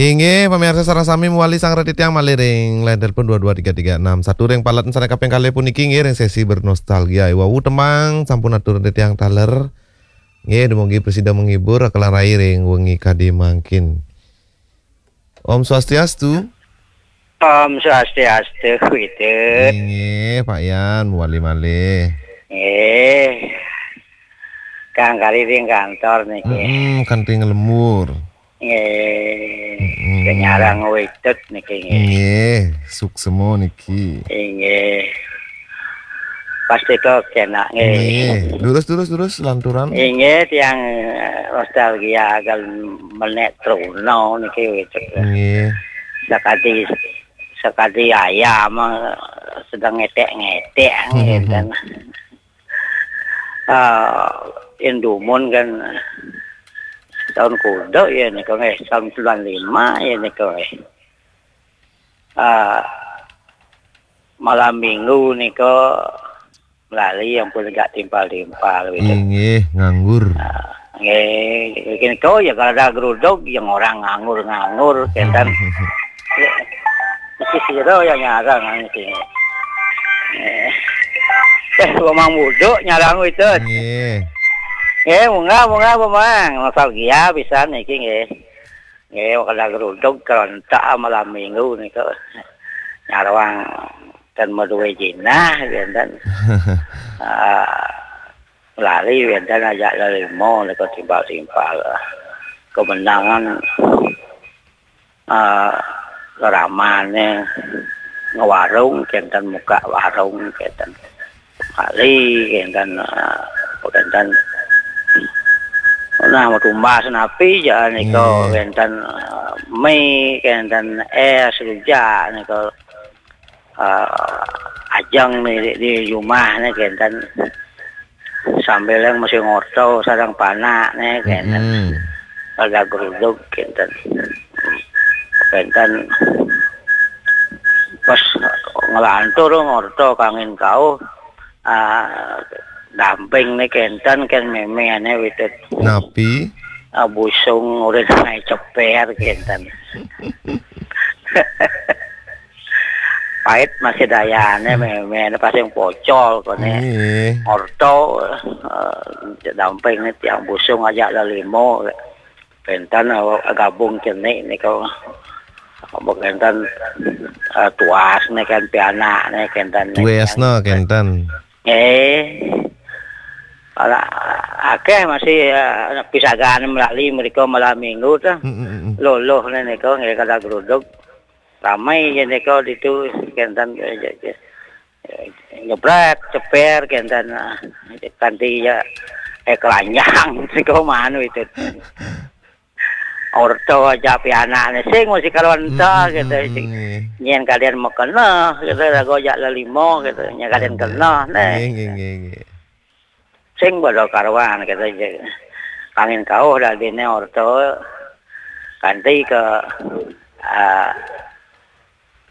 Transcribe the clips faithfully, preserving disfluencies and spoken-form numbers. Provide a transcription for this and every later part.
Inggih, pamirsa sareng sami mewali sareng titiang malih ring line telepon dua dua tiga tiga enam satu ring palet sané kaping kalih puniki, inggih, ring sesi bernostalgia. Wau tembang sampun atur titiang taler. Nggih, dumugi prasida menghibur, kalah rai ring wengi kadi mangkin. Om Swastiastu. Om Swastiastu, Widit. Inggih, Pak Yan, mewali malih. Nggih. Kang kari ring kantor niki. Mm-mm, kanti nglembur. Nggih. Mm-mm. Kenyarang Widit niki, nggih. Nggih, suksema niki. Inggih. Pasti kok enak, nggih. Nggih. Durus, durus, durus, lanturan. Inggih, tiang, eh, nostalgia agal menek Truna niki, Widit. Nggih. Sakadi, sakadi ayam, eh, sedang ngetek-ngetek, mm-hmm, ngéten. Ah, indumun kan tahun kuda ya nika, nggih, tahun sembilan lima ya nika, nggih. Ah, malam minggu nika lali ampun gak timpal-timpal gitu. Inggih, nganggur. Ah, nggih, nika ya kalau ada geruduk yang orang nganggur-nganggur, kénten. Ya, mesti sira ya nyarang niki. Eh, eh, Bamang Buduk nyarang itu. Nggih. Nggih, munggah, munggah, Bamang. Nostalgia pisan niki, nggih. Nggih, kada geruduk kerontak malam minggu niku. Nyarang ten madué jinah, kénten. Ah, lali wénten ajak lelima niku timpal-timpal. Kemenangan, ah, ramané ngewarung, kénten muka warung, kénten. Kali, kénten, ah, kénten. Nah, mau tumbas napi, ja, nika, nggih, kénten, ah, mie, kénten es, rujak, nika. Ah, ajeng di, di rumah nih, kénten. Sambil yang masih ngorto, sareng panak nih, kénten. Mm-mm. Ada geruduk, kénten. Kénten. Pas ngelantur ngorto kangin kauh, ah, damping nih, kénten, kén méméané Widit. Napi? Ah, busung urin naik ceper, kénten. Pait masih dayané, hmm, méméané pasti pocol koné. Nggih. Orto, eh, damping nih tiang busung ajak lelima. Kénten, eh, gabung cenik nika. Apa kénten, eh, tuas nih kan pianak nih kénten. Tuas nih, kénten. Eh. Ala akéh masih, eh, pisagané melali mrika malam minggu tuh. Mm, mm, mm. Loloh nih nika nggih kada geruduk. Ramai ya nika ditu kénten, eh, je-, je-, nyebret, ceper kénten, ah, kanti ya, eh, kelanjang nika manu itu. Orto aja pianakné sing mesti karuan ta, mm, mm, gitu, mm, sing. Mm, nggih. Nyén kalian makena gitu, lagu ajak lelima gitu, nyén kalian, nggih, kena, neh. Nggih, nggih, nggih, nggih. Sing pada karuan gitu, je-, kangin kauh dadiné orto kanti ke, ah,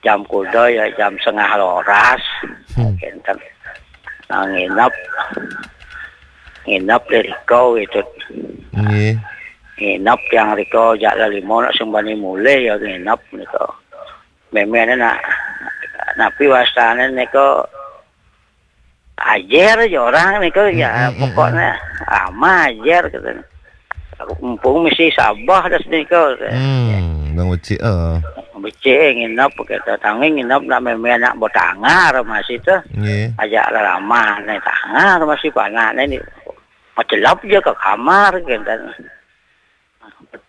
jam kuda ya jam setengah roras. Hmm. Kénten. Nah, nginep. Nginep di riko gitu. Nggih. Nginep yang riko jak lelima nak sing bani mulih ya nginep nika. Méméané nak napi wastané nika ajer aja orang nika ya, mm, mm, mm, pokoknya mm, ama ajer gitu. Mumpung mesti sabah das nika. Hmm, bang becik, eh. Becik nginep kita tangi nginep nak méméané nak bertangar masih tuh. Nggih. Ajak lelima nih tangar masih panakné nih. Macelap aja ke kamar gitu.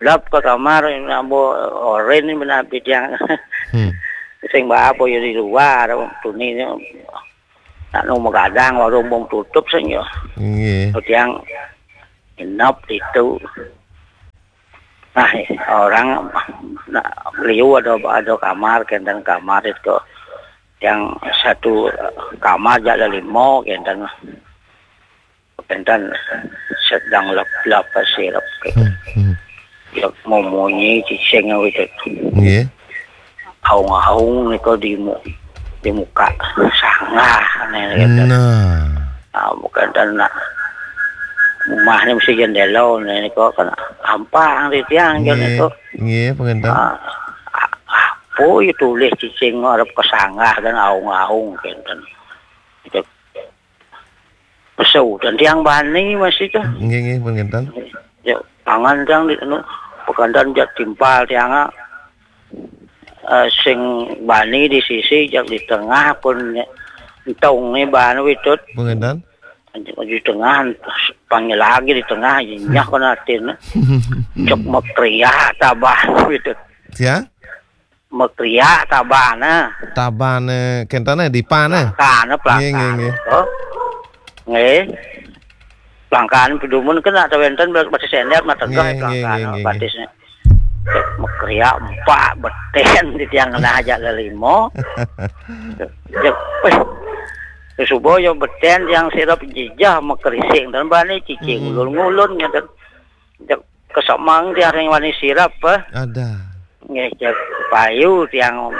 Lep ke kamar, nambo oren ni benar pidiang. Hmm. Sing bapa ya di luar, tuni ni. Nak nu magadang, warung bung tutup sing ya. Nggih. Tiang nginep itu. Nah, orang nak liu ada, ada kamar, kénten kamar itu. Yang satu kamar jak lelima, kénten. Kénten sedang lap-lap pasirep gitu. Hmm, hmm. Ya, memunyi cicing gitu. Nggih. Aung-aung niku di mu-, di muka sanggah nih gitu. Nah. Ah, bukan dan nak Umahné mesti jendéla, né kok kan ampang di tiang, jan nggih, itu. Nggih, panginten. Ah, ah, apa ya tulis cicing arep kesanggah dan aung-aung, kénten. Itu pesu dan tiang bani masih tuh. Nggih, nggih, panginten. Ya, pangan tiang di anu, pekandan jak timpal tiang, ah. Eh, sing bani di sisi, jak di tengah pun entong nih ban witut. Panginten. Di tengah panggil lagi di tengah, nyak kena atin. Cok mekriak tabah witut. Ya? Mekriak tabah nah. Tabah, eh, kénten, eh, di pan, eh? Pelangkan, eh, nggih, nggih, pelangkan. Nggih. Pelangkan pedumun kena atau wénten batis sender mah tegeh. Nggih, nggih, pelangkan, nggih, nggih, nggih. Batisnya. Mekriak empat betén di tiang kena aja lelimo. Cek, wéh. Subuh yo betén tiang sirep jijah mekerising dan bani cicing, hmm, ngulun-ngulun ngénten. Cek kesemang tiang ring wani sirep, eh. Ada. Nggih, cek payu tiang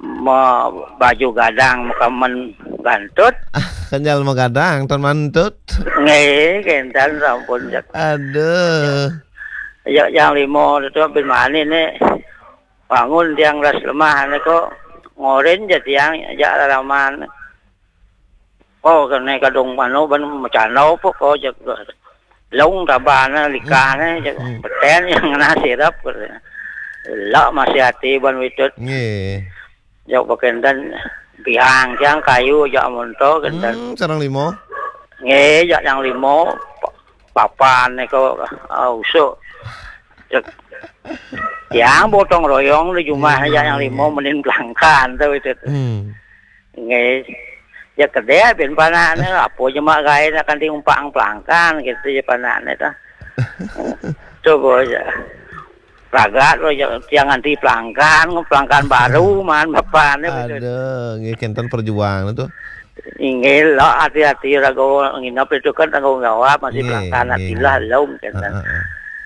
me-, baju gadang makamen gantut. Ah, kenjal magadang, tan mantut. Nggih, kénten sampun cek. Aduh. Ya, yang limo itu bin mani nih. Bangun tiang ras lemah nih kok. Ngorin ja tiang, ja lalaman. Oh, kene kadung mano ban macana apa kok, jak long tabana likane, jak, hmm, betén yang ngena sirep. Lah masih ati ban witut. Nggih. Jak pakénten bihang tiang kayu jak monto kénten. Hmm, sareng limo. Nggih, jak yang limo pa-, papan nika, ah, usuk. Jak tiang gotong royong di jumah, hmm, jak yang limo menin pelangkan tuh itu. Hmm. Nggih. Ya kedé bin panakné apa jemak gaé nak kanti umpang pelangkan gitu ya panakné tuh. Coba aja. Ragat lo ya, tiang nganti pelangkan, pelangkan baru man bapané begitu. Aduh, nggih kénten perjuangan itu. Inggih lo, hati-hati raga nginep itu kan tanggung jawab, masih, nggih, pelangkan, nggih, hati lah lom kénten. Heeh, heeh.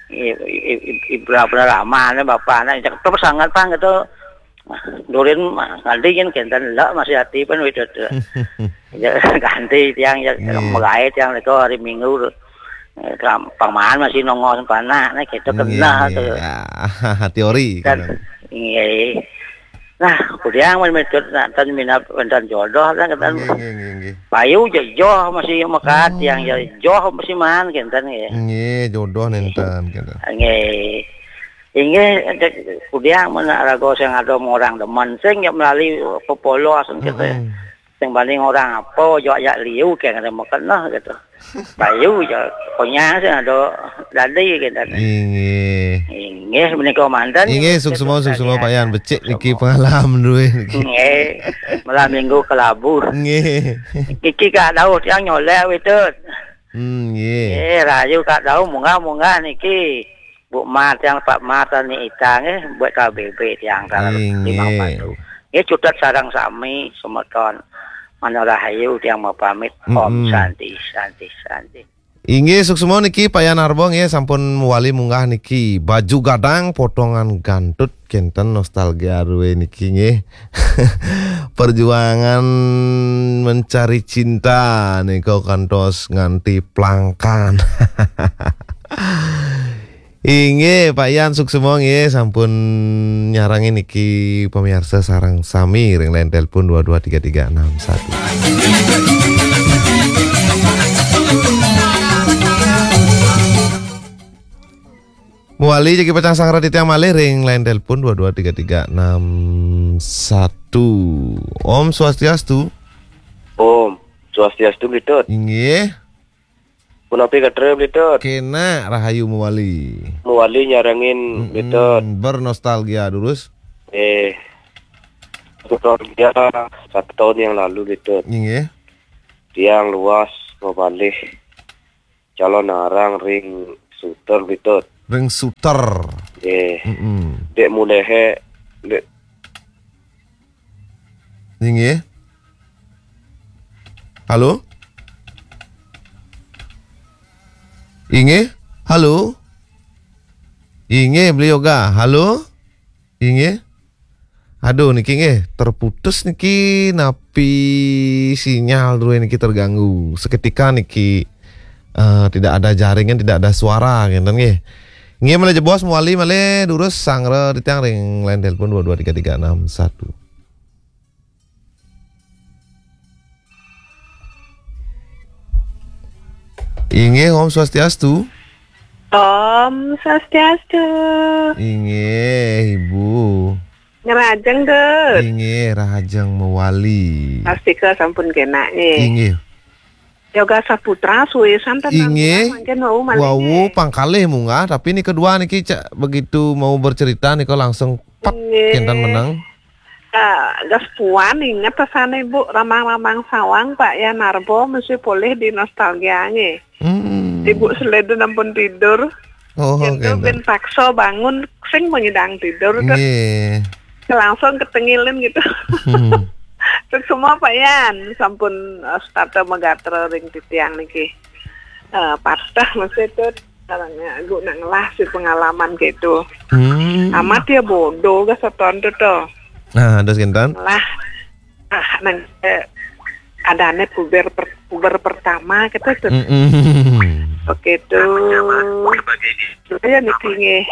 I-, i-, i-, i-, berapa lama nih bapané, cek terus sangat pang gitu. Durin mah, nganti kan kénten lo masih hati pun itu tuh. Ya, ganti tiang ya, nggih, megai tiang itu hari Minggu. Eh, kam-, paman masih nongol panak nih, gitu, nggih, kena nggih, tuh. Ya, teori, kan, gitu. Nggih. Nah, kudiang men metut nak tan minap wénten jodoh kan, kan. Nggih, nggih, nggih, nggih. Payu ja joh masih mekat, hmm, tiang ja joh masih man kénten nggih. Nggih, jodoh nénten kénten. Nggih. Inggih, cek kudiang men raga sing ada orang demen, sing ya melali pepolos kénten. Mm-mm. Sing banding orang apa, jok jak liu, kayak ada makan lah, gitu. Payu, ya, pokoknya sih ada dadi, gitu. Inggih. Inggih, menika manten. Inggih, suksma, suksma, Pak Yan. Becik niki pengalaman duwe niki. Inggih, malam minggu kelabu. Inggih. Niki Kak Daud yang nyolek, witut. Hmm, nggih. Eh, rayu Kak Daud, munggah-munggah niki. Bu Mat yang Pak Mat ni itang, eh, buat K B B tiang kalau, inggih, limang batu. Nggih, cutet sareng sami semeton. Mana rahayu tiang mau pamit. Om, mm-mm, Santi, Santi, Santi. Inggih, suksma niki Pak Yan Arbo nggih, sampun wali munggah niki. Baju gadang, potongan gantut, kénten nostalgia duwe niki nggih. Perjuangan mencari cinta nika kantos nganti pelangkan. Inggih, Pak Yan, suksma nggih, sampun nyarengi niki pemirsa sareng sami ring line telepon dua dua tiga tiga enam satu. Muali jagi pacang sanggra titiang malih ring line telepon dua dua tiga tiga enam satu. Om Swastiastu. Om Swastiastu, Bli Tut. Inggih. Punapi katra, Bli Tut? Kenak, rahayu mawali. Mawali nyarengin, mm-mm, Bli Tut. Bernostalgia durus. Eh, nostalgia satu tahun yang lalu, Bli Tut. Inggih. Tiang luas mabalih calon arang ring Suter, Bli Tut. Ring Suter. Nggih. Mm-mm. Dek mulehe, dek. Inggih. Halo? Inggih? Halo? Inggih, Bli Yoga. Halo? Inggih? Aduh, niki nggih, terputus niki, napi sinyal duwe niki terganggu. Seketika niki. Eh, tidak ada jaringan, tidak ada suara, ngenten nggih. Nggih, malih jebos mawali malih durus sanggra titiang ring line telepon dua dua tiga tiga enam satu. Inggih, Om Swastiastu. Om Swastiastu. Inggih, Ibu. Ngrajeng, Dut. Inggih, rahajeng mawali. Pastika sampun kenak, nggih. Inggih. Yoga Saputra suwisan ten Inggih. Mangkin wau malih, wau nggih. Pangkalih munggah, tapi nika dua niki cak begitu mau bercerita nika langsung pep Inggih. Kenten menang. Ah, gas puan inget rasane, Bu, ramang-ramang sawang, Pak Yan Narbo, mesti polih di nostalgia, nggih. Hmm. Ibu Seleden ampun tidur. Oh, Yen to kenten. Ben paksa bangun, sing mengidang tidur, to. Nggih. Langsung ketengilin gitu. Hmm. Terus semua Pak Yan, sampun, eh, setata megatra ring titiang niki. Eh, patah mesti to, caranya, guna ngelah si pengalaman gitu. Hmm. Amat ya bodoh, gas seton to, to. Nah, terus kenten? Ngelah. Ah, nang, eh, adane puber per-, puber pertama, kata to. Mm-mm. Oke, to. Saya niki nggih.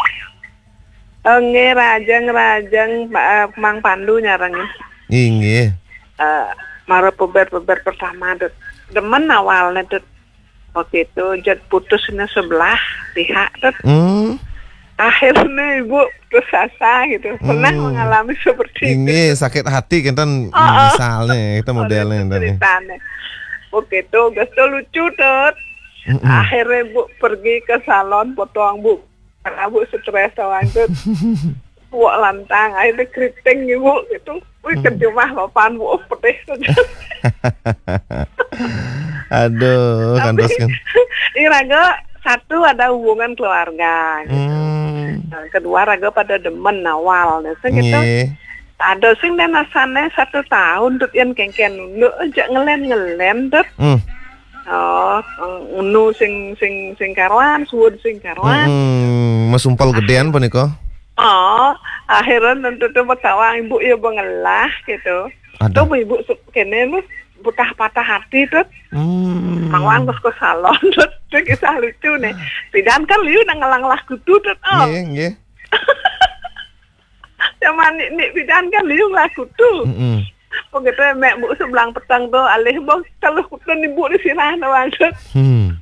Oh, nggih, rajeng, rajeng, Ma-, eh, Mang Pandu nyarengin. Inggih. Eh, mara puber-puber pertama, Dut. Demen awalnya, Dut. Oke, to, jad putusnya sebelah pihak, Dut. Hmm. Akhirnya ibu putus asa gitu. Pernah Hmm. Mengalami seperti itu? Inggih, sakit hati kenten. Oh, oh. Misalnya, kita modelnya Itu kenten, ya. Ceritanya. Oke, to, gas to lucu, Dut. Mm-mm. Akhirnya, Bu, pergi ke salon potong, Bu. Karena, Bu, stres tawang, Dut. Wak lantang, akhirnya keriting, Ibu, gitu. Wih, Hmm. Kejumah papan, Bu, pedih saja. Aduh, tapi kandos kan. Ini raga satu ada hubungan keluarga, gitu. Hmm. Nah, kedua raga pada demen awal, nah, sing gitu. Nggih. Ada sing dan rasanya satu tahun, Dut, yang kengken nunduk aja ngelen-ngelen, Dut. Hmm. Oh, unu sing, sing, sing karuan, suud sing karuan. Mm-mm. Masumpal gedean punika. Oh, akhirnya tentu tuh betawang ibu ya bengelah gitu. Aduh. Tuh ibu su-, kene lu betah patah hati tuh. Hmm. Mawang terus ke salon tuh. Itu kisah lucu nih. Pidan kan liu nang ngelang lah kutu tuh. Oh. Nggih, nggih. Zaman ni, ni pidan kan liu lah kutu. Mm-mm. Begitu mek bu sebelang petang tuh alih bang teluh kutu ibu di sirah tuh maksud. Hmm.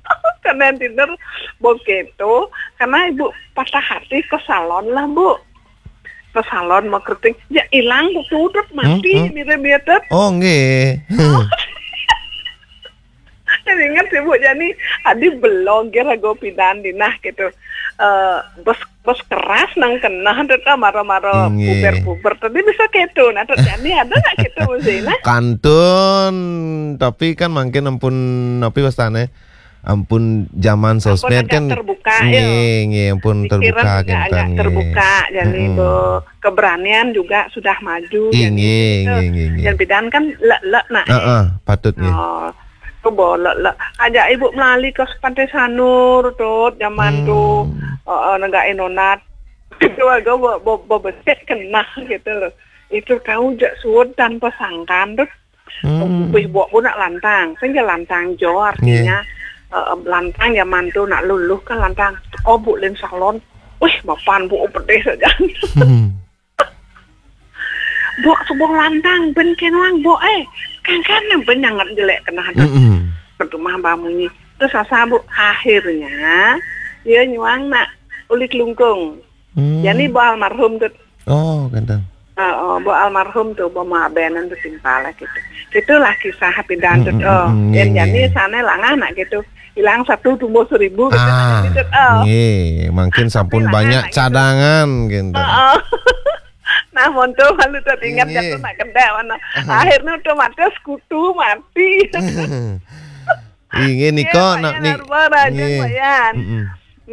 Kena tidur begitu. Karena ibu patah hati ke salon lah, Bu. Ke salon mau keriting, ya hilang, tutup, mati, Hmm, hmm. Mirip-mirip. Oh, nggih. Jadi ingat sih, Bu, jadi adi belum kira go pidan dinah gitu. Eh, bos, bos keras nang kena tuh, tuh, maro-maro Nggih. Puber-puber. Tadi bisa gitu. Nah, tuh, jadi ada nggak gitu, Musina? Kantun, tapi kan mungkin ampun, tapi wastane ampun zaman Ampun sosmed agak kan terbuka, ya. Nggih, nggih, ampun Pikiran terbuka juga kan, agak nggih. Terbuka, jadi Mm-mm. Bo, keberanian juga sudah maju, Ih, jadi nggih, gitu. Nggih, nggih, nggih. Yang bidan kan lek-lek nak, eh. Heeh, patut, nggih. Oh, tu bo lek-lek. Ajak ibu melali ke Pantai Sanur, Tut, zaman Hmm. tu, eh, eh, negak inonat. Itu agak bo, bo, bo besek kena gitu loh. Itu tahu jak suud tanpa sangkan, Tut. Hmm. Wih, buat bu nak lantang. Sehingga lantang jo artinya, Nggih. Eh, lantang zaman tu nak luluh kan lantang. Oh, bu lin salon. Wih, mapan bu pedih saja. Hmm. Bu sebuah lantang, ben kenwang, bu, eh. Kan, kan, ben nyangat jelek kena ada. Mm-mm. Pertumah bamunyi. Terus asa, Bu, akhirnya, dia nyuang nak ulik lungkung. Hmm. Jadi, Bu almarhum tu. Oh, kenten. Oh, oh, Bu almarhum tu, Bu mabenan tu simpal lah gitu. Itulah kisah pidan tu. Mm, mm, Oh, mm, dan nggih, jadi nggih. Sana langah nak gitu. Hilang satu tumbuh seribu gitu. Ah, Gitu, oh. Nggih, mungkin sampun Tapi langah banyak nak gitu. Cadangan gitu. Oh, oh. Nah, monto malu teringat Nggih. Jatuh nak kedai mana. Akhirnya otomatis kutu mati. Inggih nika, Pak nak Yan ni-, Narba, Raja nggih. Pak Yan. Mm-mm.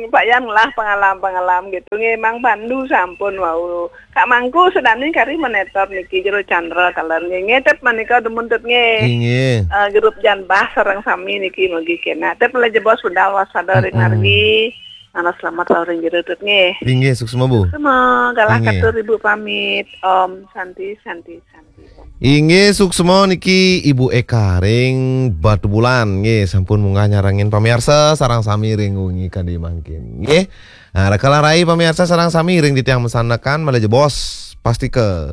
Pak Yan lah pengalaman-pengalaman gitu. Nggih, Mang Pandu sampun wau. Kak Mangku sedani kari monitor niki Jero Chandra taler nggih. Ngetet menika demen tut nggih. Inggih. Eh, grup Jan Bah sareng sami niki mugi kena. Tet mulai jebos budal wasada ring Mm-mm. Margi. Nana selamat sahur ring Jero Dut nggih. Inggih, suksma, Bu. Semua galah Inggih. Katur Ibu pamit. Om Santi, Santi, Santi, Om. Inggih, suksma niki Ibu Eka ring Batubulan nggih, sampun munggah nyarengin pamiarsa sareng sami ring wengi kadi mangkin nggih. Nah, rikala rai pamiarsa sareng sami ring titiang masandekan malih jebos pastika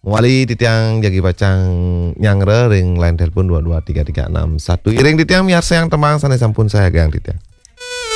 mawali titiang jagi pacang nyanggra ring line telepon dua dua tiga tiga enam satu. Iring titiang miarsayang tembang sane sampun sayagang titiang.